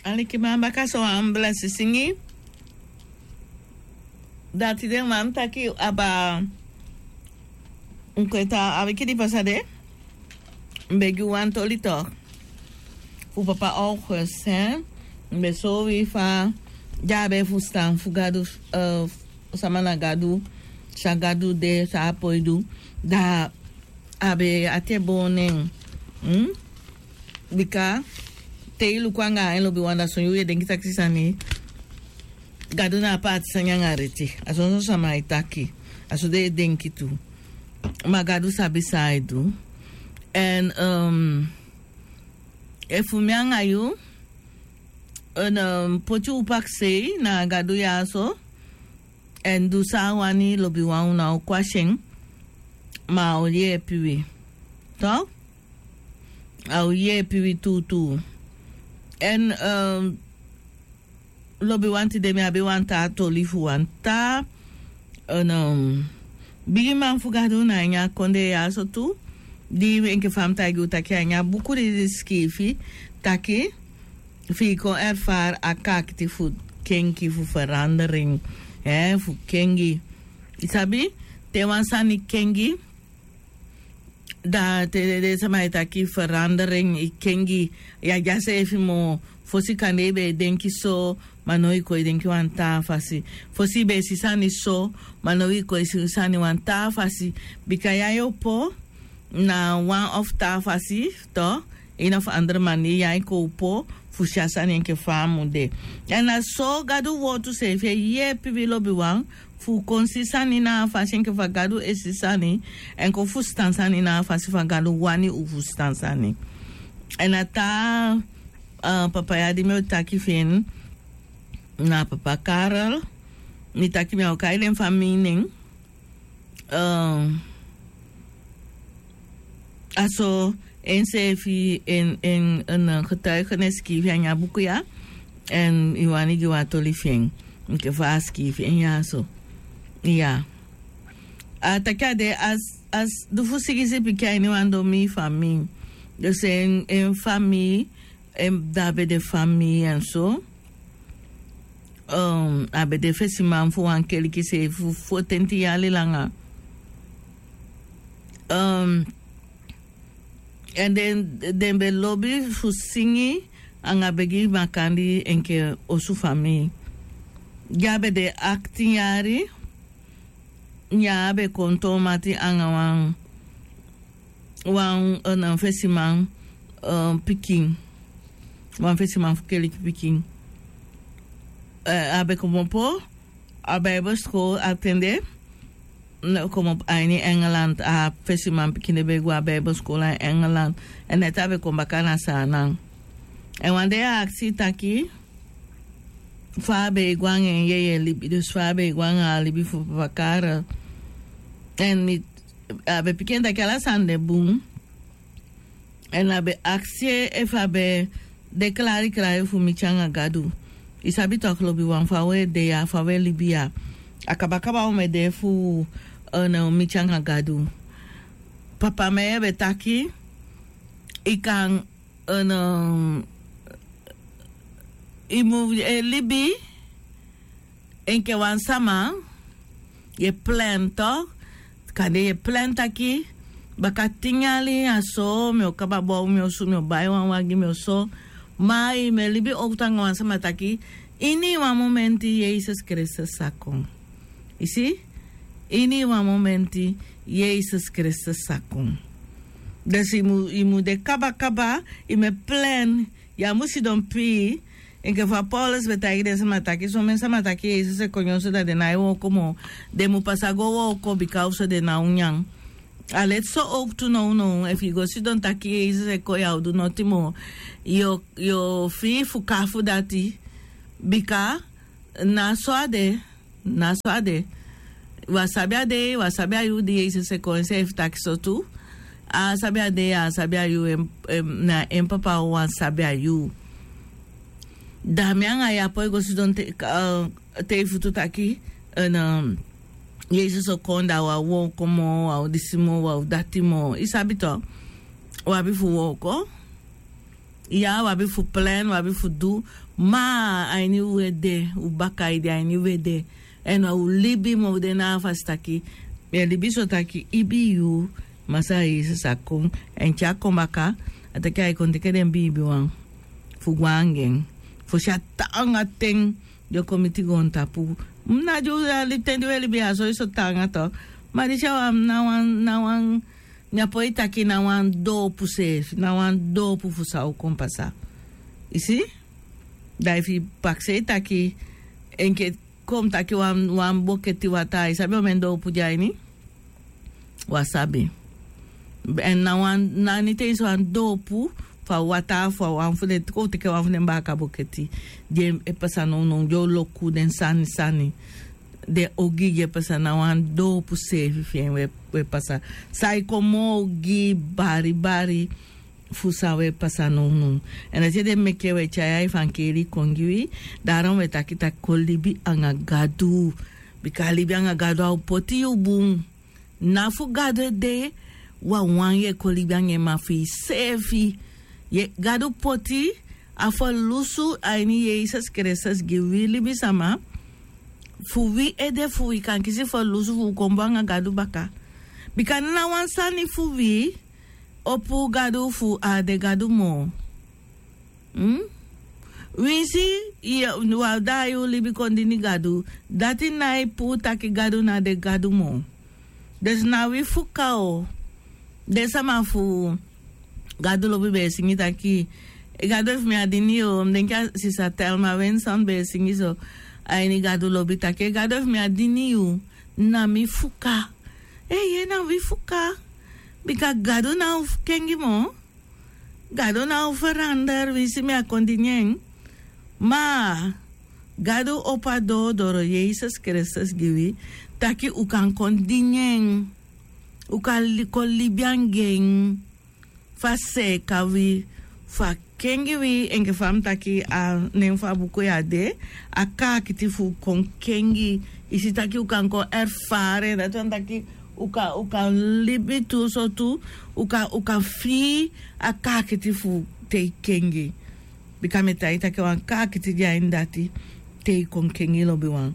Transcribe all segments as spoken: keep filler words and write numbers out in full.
Alikiman, baka so wan blesi singi. Dati den man taki aba. Nkweta a wiki di pasa de. Mbegi wan toli tok. Fu papa August, hè. Mbe so wi fa. Dya be fu stan fu Gadu, eh, sama na Gadu. Sa Gadu de, sa a poi du. Da a be ati e boon nen. Bika te i luku anga en lobiwan, da son yuu yu e denki taki sani. Gadu na a paati sani anga reti. A sonson sama e taki. A so den e denki tu. Ma Gadu sabi san a e du. Èn, ehm, efu mi anga yu, èn, ehm, poti un pakisei na Gadu ya so. Èn du san a wani, lobiwan, un ná o kwasi en. Ma a o yeepi wi. Tok? A o yeepi wi tuutuu. Èn, ehm, lobiwan, tide mi abi wan taa toli fu wan taa, eh, no, bigiman fu Gadu na ini a kondee ya so tu. Di enke fa mi taigi u taki a ini a buku di, di sikiifi taki fi i kon erfari a kaakiti fu kenki, fu verandering, eh, fu kengi. I sabi, te wan sani kengi, da te den sama e taki verandering, i kengi, ya dya seefi moo. Fosi kande i be e denki so, ma now i kon e denki wan taa fasi. Fosi i be e si sani so, ma now i kon e si sani wan taa fasi. Bika ya yu opo na wan of taa fasi, tok, ini wan fu andere maniri, ya i kon opo fu si a sani enke fa a mu de. Èn na so Gadu wowtu seefi e yeepi wi, lobiwan, fu kon si sani na a fasi enke fa Gadu e si sani, èn kon fusutan sani na a fasi fa Gadu wani un fusutan sani. Èn a taa, eh, papa ya di mi o taki fi en, na papa Karel. Mi taki mi á o kai den famii nen. Eh, a so enseefi en, en, en, eh, getuigenis sikiifi a ini a buku ya. Èn i wani gi wan toli fi en enke fa a sikiifi en ya so. Ya. A taki a de a s-, a s-, du fu sigisi pikin a ini wan domi famii. Dus en, en famii, en, da a be de famii èn so. Um, a be de fesiman fu wan keliki seefi fu fotenti yali langa. Um, èn den, den be lobi fu singi anga begi makandii enke osu famii. Di a be de aktin yari, neen a be kon toon mati anga wan, wan, eh, fesiman, eh, pikin. Wan fesiman fu keliki pikin. Eh, a be komopo a Bijbelskol a ten de. Komopo a ini Engeland, a fesiman pikin de be go a Bijbelskol a Engeland. Èn neti a be kon baka na Saanan. Èn wan dei a aksi taki fa a be e go anga en yeye libi, dus fa a be e go anga a libi fu papa Karel. Èn mi, a be piki en taki ala sani de bun. Èn a be aksi en efu a be de klari klari fu miti anga Gadu. I sabi tok, lobiwan, fa u e de ya, fa u e libi ya. A kaba kaba u mu e de fu, eh, no, miti anga Gadu. Papa Meye be taki, i kan, eh, no, i mu e libi enke wan sama, yu e plan tok, kande yu e plan taki, baka tin yali a so, mi o kaba bow mi osu, mi o bai wan wagi, mi o so. Ma i mu e libi owktu anga wan sama taki, ini wan momenti Yesus Kristus sa kon. I si? Ini wan momenti Yesus Kristus sa kon. Dus i mu, i mu de kaba kaba, i mu e plan, ya mu sidon pii, enke fa Paulus be taigi den sama taki, somen sama taki Yesus e kon nyan so, da den nái wooko moo. Den mu pasa go wooko, bika ofuso den ná o nyan. A leti so owktu nownow, efu i go sidon taki Yesus e kon, ya o du noti moo. Yu o, yu o fii fu kafu dati, bika na so a de. Na so a de. Wi á sabi a dei, wi á sabi a yuu di Yesus e kon, enseefi taki so tu. A sabi a dei, a sabi a yuu, en, en, na en papa wawan sabi a yuu. Da mi anga yu á poi go sidon te, eh, te i futu taki, eh, na, Yesus o kon, da wi á wooko moo, wi á o disi moo, wi á o dati moo. I sabi tok. Wi abi fu wooko. Ya wi abi fu plan wi abi fu du. Ma a ini wi ede wi baka ede a ini wi ede. Èn wi libi ma wi de na a fasi taki, mi e libi so taki ibi yu. Masa yesus a kon, èn te a kon baka a taki a e kon teke den biibi wan fu go anga en. Fosi a taanga ten di o kon miti goontapu. Na di wi a libi ten di wi e libi ya so yu so taanga to. Ma disi a wan na wan na wan mi a poi taki na wan doopu seefi na wan doopu fu san o kon pasa. I si? Da efu i pakisei taki enke kon mi taki wan boketi wataa i sabi omen doopu de a ini? Wi á sabi. Èn na wan na niti ensi wan doopu fu a wataa fu a wan fu den kon u teke wan fu den baaka boketi di e pasa nownow di o loku den sani sani. Den ogii di e pasa na wan doopu seefi fi en u e pasa san e kon moo ogii bari bari fu san u e pasa nownow. Èn dati ede meke u e tyai a efankeli kon gi wi. Daron u e taki taki kon libi anga gadu. Bika libi anga gadu a o poti yu bun. Na fu gadu ede wawan yu e kon libi anga en ma fu yuseefi. Gadu poti a ferlusu a ini yesus kristus gi wi libisama fu wi ede fu wi kan kisi ferlusu fu wi kon bun anga gadu baka. Bika na wan sani fu wi opu gadu fu a á de gadu moo. Winsi yu abi daai yu libi kon dini gadu dati nái puu taki gadu na de gadu moo. Dus na wi fuka o. Den sama fu gadu lobi be e singi taki gadu efu mi á dini yu o mi denki a sisa telma wenson be e singi so. A ini gadu lobi taki gadu efu mi á dini yu na mi fuka. Eeye na wi fuka. Bika gadu na o kengi moo. Gadu na o ferander winsi mi á kon dini en. Ma gadu opo a doo doro yesus kristus gi wi taki u kan kon dini en. U kan kon libi anga en. Fu a seeka wi fu a kengi wi enke fa mi taki a nen fu a buku ya de. A kaakiti fu kon kengi i si taki u kan kon erfari en dati wani taki u kan libi tu so tu. U kan fii a kaakiti fu te i kengi. Bika mi e taigi taki a wan kaakiti di a ini dati te i kon kengi lobiwan.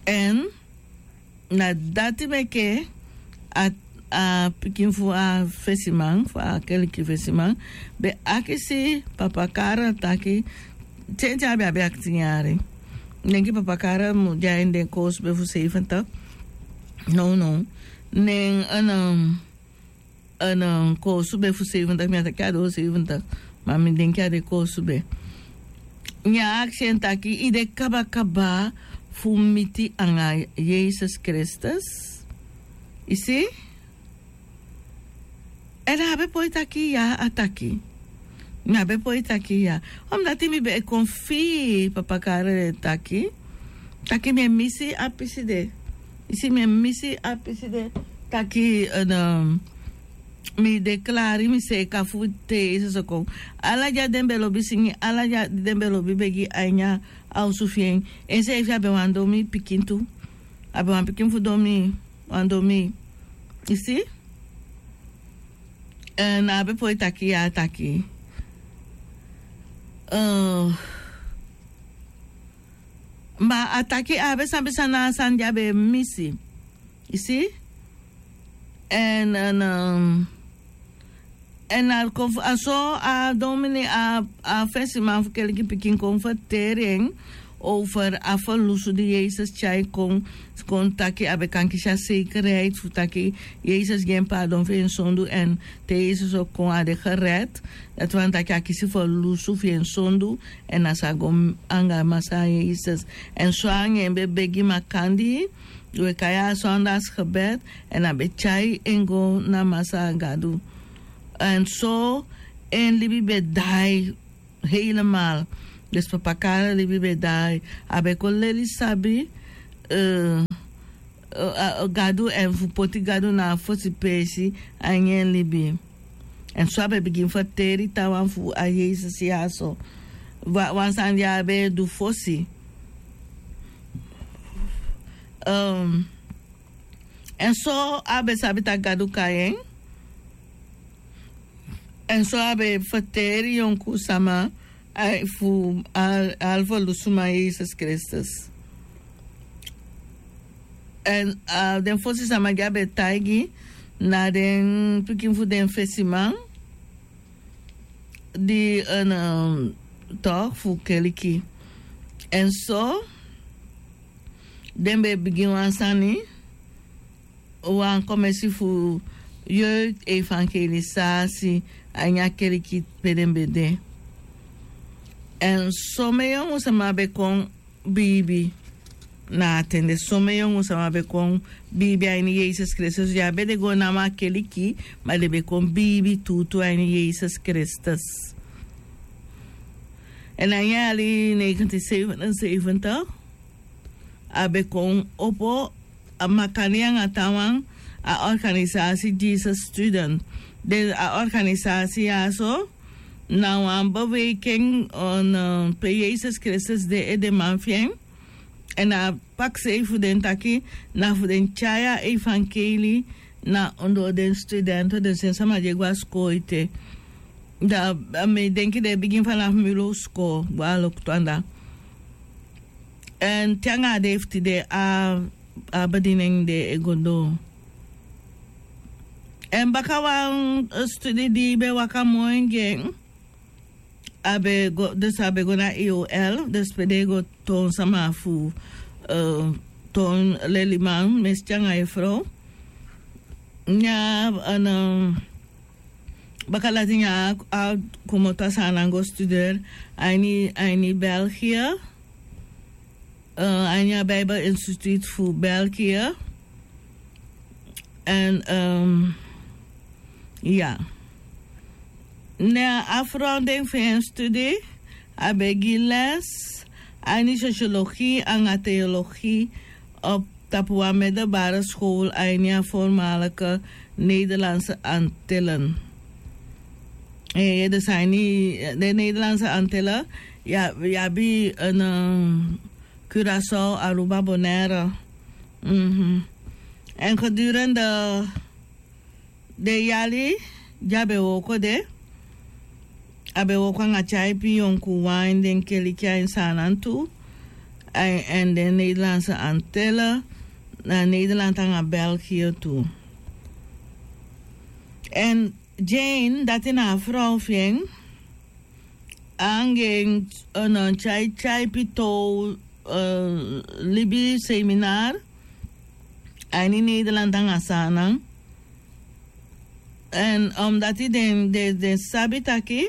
Èn na dati meke a pikin fu a fesiman fu a keliki fesiman be akisi papa kara taki. Tenten a be abi aktin yari. Denki papa kara mu de a ini den koosu be fu seifentak. Nownow nen en koosu be fu seifentak mi a taki a doo seifentak. Ma mi denki a de koosu be. Ne a akisi en taki i de kabakaba fu miti anga yesus kristus? I si? Èn a be poi taki ya a taki. Mi a be poi taki ya. Omdati mi be e kon fii papa kara den taki taki mi e misi a pisi de. I si mi e misi a pisi de taki mi de klari mi seeka fu te yesus o kon. Ala di a den be lobi singi ala di a den be lobi begi a ini a osu fi en. Enseefi a be wan domi pikin tu. A be wan pikin fu domi wan domi. I si? Èn a be poi taki ya a taki ma a taki a be sabi san na a sani di a be misi. I si? Èn èn a kon fu a so a domini a fesiman fu keliki pikin kon ferteri en over a ferlusu di yesus tyai kon. Kon taki a be kan kisi a sekerheid fu taki yesus gi en paadon fu en sondu èn te yesus o kon a de gered. Dati wani taki a kisi ferlusu fu en sondu. Èn a sa go anga masa yesus èn so anga en be begi makandi. We kai a sondas gebed èn a be tyai en go na masa gadu. Èn so en libi be daai. Heilemal. Dus papa kara libi be daai a be kon leli sabi gadu èn fu poti gadu na a fosi peesi a ini en libi. Èn so a be bigin ferteri taawan fu a yesus ya so wan sani di a be e du fosi. Èn so a be sabi taki gadu kai en. Èn so a be ferteri yonku sama fu a halfu lusu man yesus kristus. Èn den fosi sama di a be taigi na den pikin fu den fesiman di en tok fu keliki. Èn so den be bigin wan sani wan komesi fu yoi evangelisasi a ini a keliki pe den be de. Èn somen yongu sama be kon biibi na a ten de somen yongu sama be kon biibi a ini yesus kristus ya be de go namo a keliki ma den be kon biibi tuutuu a ini yesus kristus. Èn a ini a yali negentin sevenenseventig a be kon opo a makani anga tawan a organisasi jesus student. Den a organisasi ya so na wan beweiking pe yesus kristus de edeman fi en. Èn a paksei fu den taki na fu den tyai a evankeli na ondoo den studenten den sen sama di e go a skoo ete. Da mi e denki den e bigin fanafu mi low skoo go a loktu anda. Èn te anga a dei fu tide a a bedi nen de e go doo. Èn baka wan studi di be waka moi gi en a be go dus a be go na eol dus pe den e go toon sama fu toon leliman mesi tyanga e frow. Nyaa baka dati nyaa a komoto a saanan go studer a ini belgia. A ini a bible institute fu belgia. Èn ya ne a frow den fu en studi a be gi les a ini sosiologi anga teologi op tapu wan medelbare skol a ini a formalike nederlandse antillen. Dus a ini de nederlandse antillen ya abi en curaçao aruba bonaire. Èn gedurende den yali di a be wooko de a be wooko anga tyaipi yonkuwan ini den keliki a ini saanan tu èn den nederlandse antille na nederland anga belgië tu. Èn jane dati na a frow fi en anga en tyaityaipi tow libi seminar a ini nederland anga saanan. Èn omdati den den sabi taki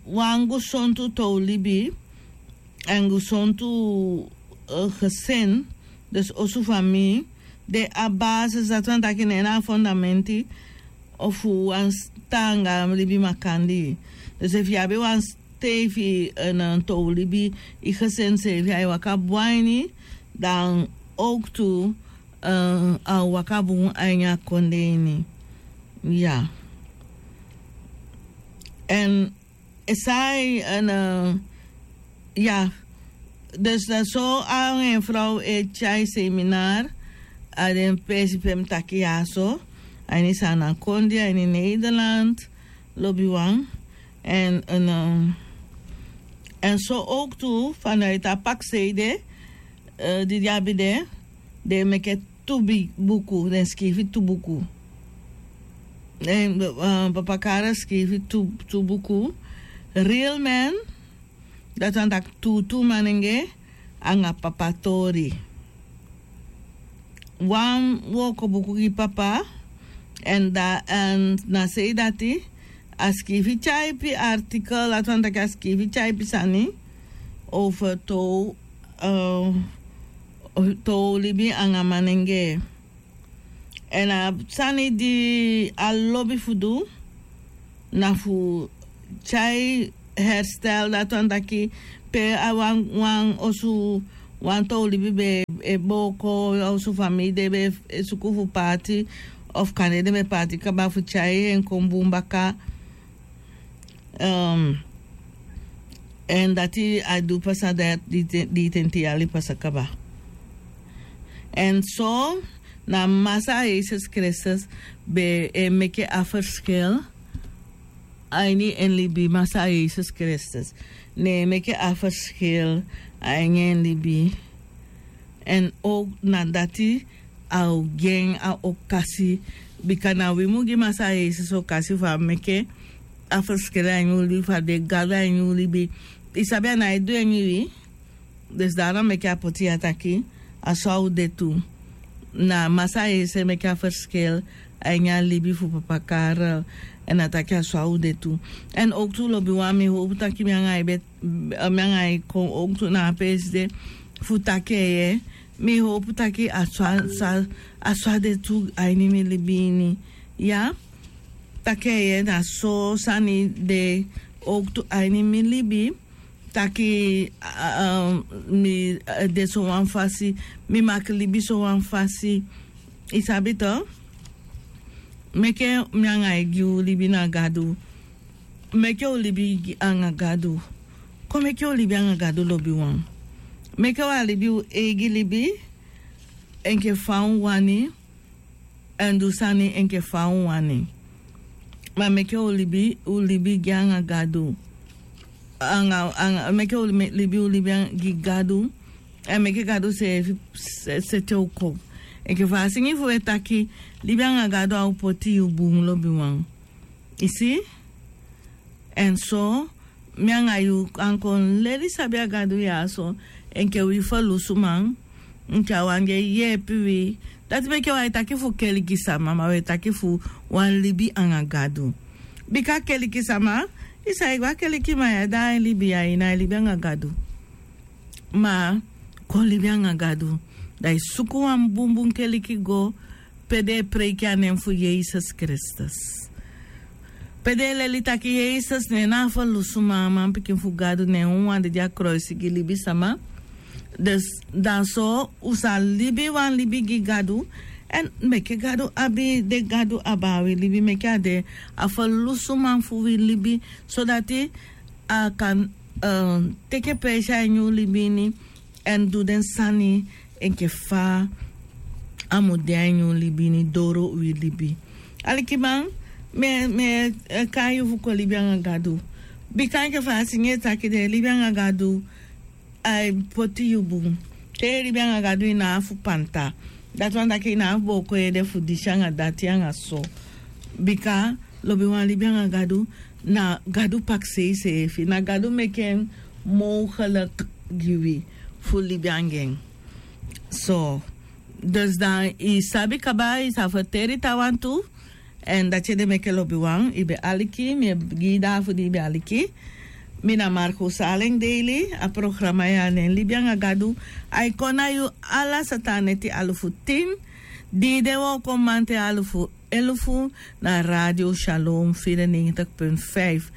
wan gesontu tow libi èn gesontu gesin dus osu famii de a basis dati wan taki na en na a fondamenti fu wan taanga libi makandii. Dus efu yu abi wan steifi tow libi yu gesin seefi a e waka bun a ini dan owktu a o waka bun a ini a kondee ini. Ya èn esai èn ya dus na so a en frow e tyai seminar a den peesi pe mi taki ya so a ini sanakondi a ini nederland lobiwan. Èn èn so owktu fanaiti a paksei de di di abi de den e meke tu buku den sikiifi tu buku. Papa kara sikiifi tu buku real men dati wan taki tuutuu manenge anga papa tori. Wan wooko buku gi papa èn da èn na sei dati a sikiifi tyaipi artikel dati wan taki a sikiifi tyaipi sani over tow tow libi anga manenge. Èn a sani di a lobi fu du na fu tyai herstel dati wan taki pe a wan wan osu wan tow libi be e booko a osu famii den be e suku fu paati of kande den be paati kaba fu tyai en kon bun baka. Èn dati a du pasa dati di ten ten yali pasa kaba. Èn so Na Masaa Yesus Kristus be e meke a ferskil a ini en libi. Masaa Yesus Kristus ne e meke a ferskil a ini en libi. Èn o na dati a o gi en a okasi. Bika na wi mu gi Masaa Yesus okasi fu a meke a ferskil a ini un libi, fu a de Gadu a ini un libi. I sabi a nái du en ini wi. Dus dati na meke a poti ya taki a so a o de tu. Na Masaa Yesus e meke a ferskil a ini a libi fu papa Karel. Èn a taki a so a o de tu. Èn owktu lobiwan, mi howpu taki mi anga yu be, mi anga yu kon owktu na a peesi de fu taki en. Mi howpu taki a so a, a so a de tu a ini mi libi ini. Ya, taki en na so sani de owktu a ini mi libi. Taki, a, a, mi, a, de so wan fasi, mi mag libi so wan fasi. I sabi to? Meke mi anga yu gi un libi na Gadu. Meke un libi gi anga Gadu. Kon meke un libi anga Gadu lobiwan. Meke un libi un eigi libi enke fa un wani. Èn du sani enke fa un wani. Ma meke un libi, un libi gi anga Gadu. Anga, anga, meke un libi, un libi gi Gadu. Èn meke Gadu seefi seti en kon. Enke fa a singi fu e taki, libi anga Gadu a o poti yu bun lobiwan. I si? Èn so, mi anga yu kan kon leli sabi a Gadu ya so, enke wi ferlusuman, enke a wan di e yeepi wi. Dati meke wi e taki fu keliki sama, ma wi e taki fu wan libi anga Gadu. Bika keliki sama, i sa e go a keliki ma ya da a e libi ya, i na e libi anga Gadu. Ma kon libi anga Gadu. Da i suku wan bunbun keliki go, pe den e preiki a nen fu Yesus Kristus. Pe den e leli taki Yesus ne na a ferlusuman, a manpikin fu Gadu, ne en wawan dede a koloisi gi libisama. Dus dan so un sa libi wan libi gi Gadu. Èn meke Gadu abi, den Gadu abi a wi libi, meke a de a ferlusuman fu wi libi, sodati a kan, eh, teki peesi a ini un libi ini, èn du den sani enke fa a mu de a ini un libi ini doro wi libi. Alikiman, mi e, mi e, eh, kai yu fu kon libi anga Gadu. Bika enke fa a singi e taki de, libi anga Gadu a e poti yu bun. Te i libi anga Gadu i ná abi fu panta. Dati wani taki i ná abi fu booko yu ede fu disi anga dati anga so. Bika lobiwan, libi anga Gadu na Gadu pakisei seefi. Na Gadu meke en mogelijk gi wi fu libi anga en. So, dus dan i sabi kaba, i sa ferteri taawan tu. Èn dati ede meke lobiwan, i be aliki, mi e gi i dati fu di i be aliki. Mi na Marco Saleng Daily, a programa ya nen Libi anga Gadu. A e kon na yu ala sata neti alufu tin, di de wooko mamanten alufu elufu, na Radio Shalom vierennegentig punt vijf.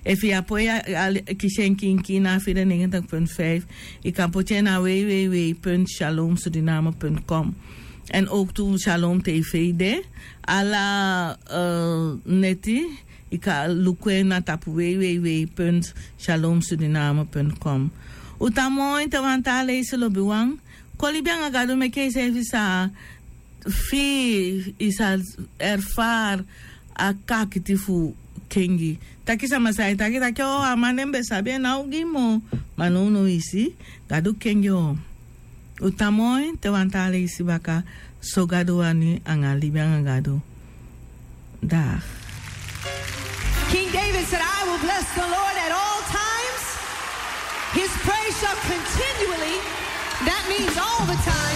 Efu i á poi a, a, kisi en kiinkiin na vierennegentig punt vijf, i kan poti en na www punt shalom suriname punt com. Èn owktu Shalom T V de, ala, eh, neti, i kan luku en na tapu www punt shalom suriname punt com. Un tan moi te wan taa leisi lobiwan. Kon libi anga Gadu, meke iseefi sa fii, i sa erfari a kakiti fu kengi. Taki sama sa e taki taki, o, a man den be sabi en ná o gi moo. Ma nownow i si, Gadu kengi o. Un tan moi te wan taa leisi baka, so Gadu wani anga libi anga Gadu. Dag. King David said, "I will bless the Lord at all times. His praise shall continually," that means all the time.